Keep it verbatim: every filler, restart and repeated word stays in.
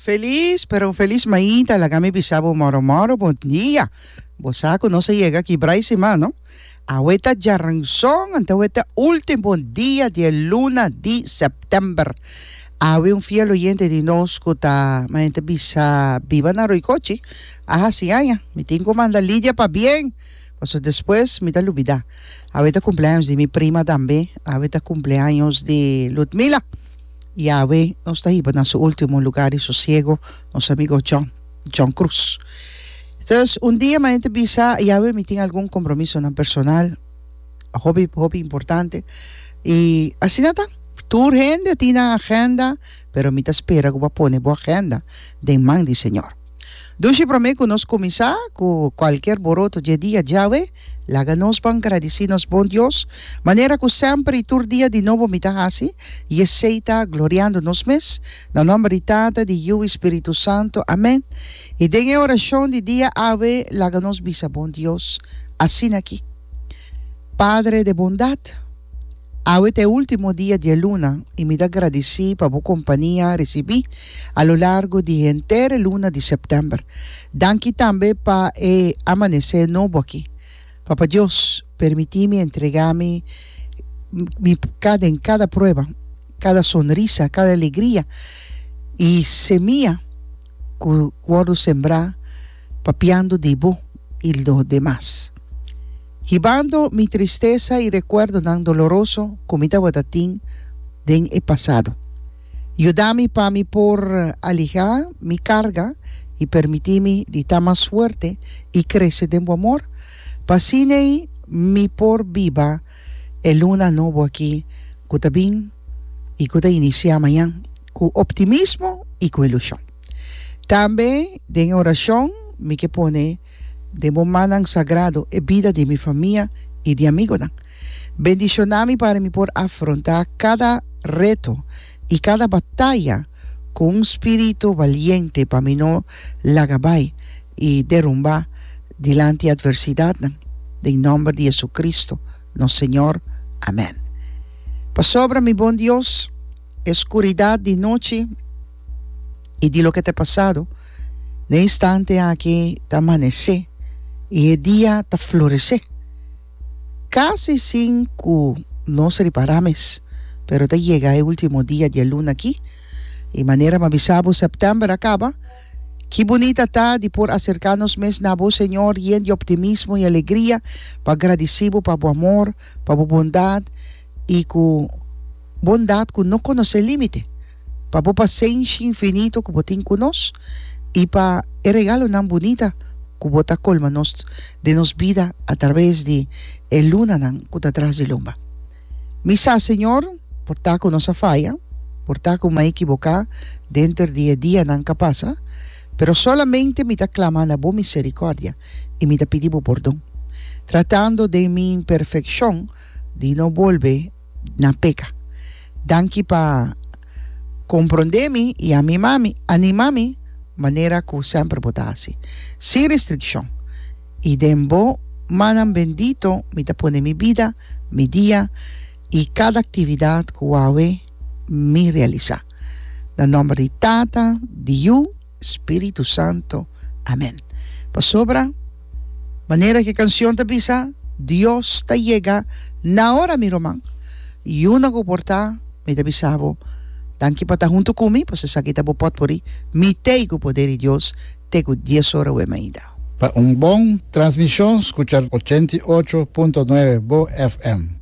Felis, pero un felis mainta, laga mi bisa bo moro moro bon dia. Bo sa ku nos a yega kibra e siman, no? Awe ta djaranson, anto awe ta ultimo dia di e luna di sèptèmber. Awe un fiel oyente di nos ku ta, mañana ta bisa, biba na Roycochi, a hasi aña. Mi tin ku manda Lidia pabien, pasobra despues mi ta lubidá. Awe ta kumpleaños di mi prima tambe, awe ta kumpleaños di Ludmila. I awe nos ta hiba na su ultimo lugar di sosiego nos amigo John, John Cruz. Entonces, un dia mañana ta bisa, i awe mi tin algun compromisonan personal, hopi, hopi importante. I asina ta, tur hende tin nan agenda, pero mi ta spera ku bo a pone bo agenda den man di Señor. Dushi promé ku nos kuminsá ku kualkier boroto dje dia djawe, laga nos ban gradisí nos bon Dios, manera ku semper i tur dia di nobo mi ta hasi, i esei ta gloriando nos mes, na nòmber di Tata, di Yu i Spiritu Santu. Amèn. I den e orashon di dia awe, laga nos bisa bon Dios asin'aki, Padre de bondat, Awe ta e ultimo dia di e luna i mi ta gradisí pa bo kompania risibí a lo largo di henter e luna di sèptèmber. Danki tambe pa e amanesé nobo aki. Papa Dios, permití mi entregá mi mi kada en kada prueba, kada sonrisa, kada alegria i semia ku wòrdu sembrá papiando di bo i lo demas. Hibando mi tristesa i rekuerdonan doloroso ku mi tabata tin den e pasado. Yuda mi pa mi por alihá mi karga i permití mi di ta mas fuerte i krese den bo amor, pa asin'ei mi por biba e luna nobo aki ku ta bin i ku ta inisiá mañan ku optimismo i ku ilushon. Tambe den e orashon mi ke pone Den bo mannan sagrado e bida di mi famia i di amigonan. Bendishoná mi para mi por afrontá kada reto i kada bataya ku un spiritu baliente pa mi no laga bai i derumbá dilanti atversidatnan. Den nòmber di Jesucristo, nos Señor. Amèn. Pasobra, mi bon Dios, e skuridat di nochi i di loke ta pasado, Den instante aki ta amanesé i e dia ta floresé. Kasi sin ku nos ripará mes, pero ta yega e último dia di e luna aki. I manera m'a bisa bo, sèptèmber a kaba. Ki bunita ta di por aserká nos mes na bo, Señor, yen di optimismo i alegria, pa gradisí bo pa bo amor, pa bo bondat i ku bondat ku no konosé límite. Pa bo pasenshi infinito ku bo tin ku nos i pa e regalonan bunita ku bo ta kolma nos den nos bida atraves di e lunanan ku ta tras di lomba. Mi sa, Señor, por ta ku nos a faya, por ta ku mi a ekiboká denter di e dianan ka pasa, pero solamente mi ta klama na bo miserikòrdia i mi ta pidi bo pordon, tratando den mi imperfekshon di no bolbe na peka. Danki pa komprondé mi i amima mi, anima mi manera ku semper bo ta hasi, sin restrikshon. I den bo mannan bendito mi ta pone mi bida, mi dia i kada aktividat ku awe mi realisá. Na nòmber di Tata, di Yu, Spiritu Santo. Amen. Pasobra, manera ku e kansion ta bisa, Dios ta yega na ora, mi ruman. Yuna ku por ta, mi ta bisa bo, danki pa ta huntu ku mi, pasobra esaki ta bo pòtpori, mi t'ei ku poder di Dios te ku dies ora wem ainda. Pa un bon transmishon skucha ochenta i ocho punto nuebe Bo F M.